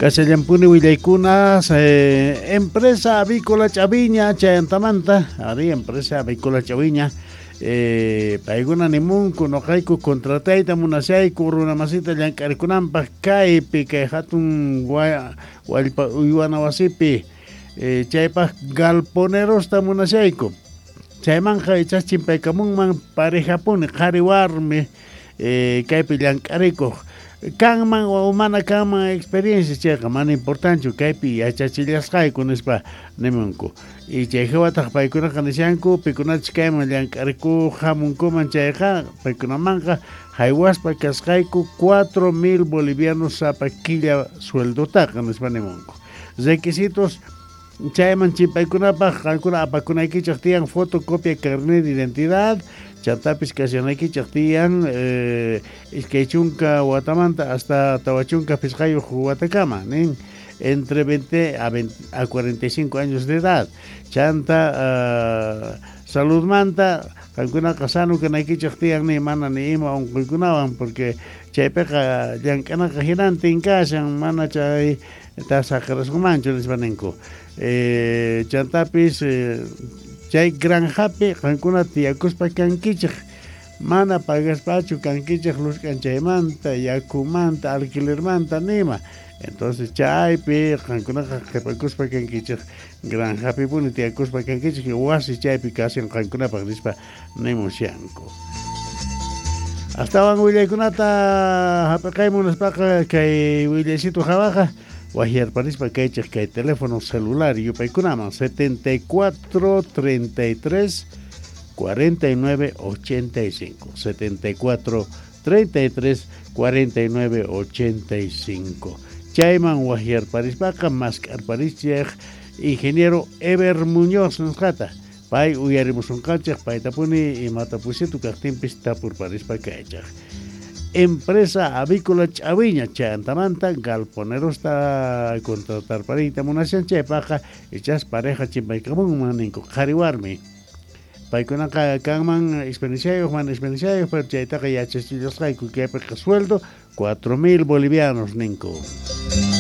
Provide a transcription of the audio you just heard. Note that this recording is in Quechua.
Kashallampuni willaykunas empresa avícola Chaviña chayantamanta, ari empresa avícola Chaviña paykuna nimunku noqayku contratayta munashayku runa masita llank'arikunanpaq kaypi kay hatun wallpa uywana wasipi chaypaq galponerosta munashayku chaymanqa ichas chimpaykamunman parejapuni qhari warmi kaypi llank'arikuq kanman o mana kanman experiencia chayqa mana importanchu kaypi yachachillasqayku nispa nimunku y chay hawataq paykunaqa nishanku pikunachus kayman llank'arikuq hamunkuman chayqa paykunamanqa haywaspa kasqayku 4000 bolivianos sapa killa sueldotaqa nispa nimunku. Requisitos chayman chimpaykunapaq qankuna apakunaykichaq tiyan fotocopia carnet de identidad chantapis kashanaykichaq tiyan 20 watamanta hasta 45 watakama nin entre 20 a 45 años de edad chanta saludmanta qankunaqa sano kanaykichaq tiyan ni mana ni ima unquykunawan porque chaypiqa llank'anaqa hinantin kashan mana chay tasaqirasunmanchu nispa ninku chantapis chay granjapi qankuna tiyakuspa kankichik mana pagaspachu kankichik luz k'anchaymanta yakumanta alquilermanta nima entonces chaypi qankunaqa qhipakuspa kankichik granjapipuni tiyakuspa kankichik wasi chaypi kashan qankunapaq nispa nimushanku. Astawan willaykunata hap'iqaymun nispaqa kay willaysitu hawaqa wahyarparispa kaychik kay teléfono celular yupaykunaman 74 33 49 85 74 33 49 85 chayman wahyarparispaqa mask'arparichik ingeniero Eber Muñoz nisqata pay uyarimusunqanchik paytapuni imata pusitu kaqtinpis tapurparispa kaychik. Empresa avícola Chaviña chayantamanta galponerosta contratarpariyta munashan chaypaqqa ichas pareja chimpaykamunman ninku qhari warmi paykunaqa kanman experienciayuq mana experienciayuq pero chaytaqa yachachillasqayku kaypiqa sueldo 4000 bolivianos ninku.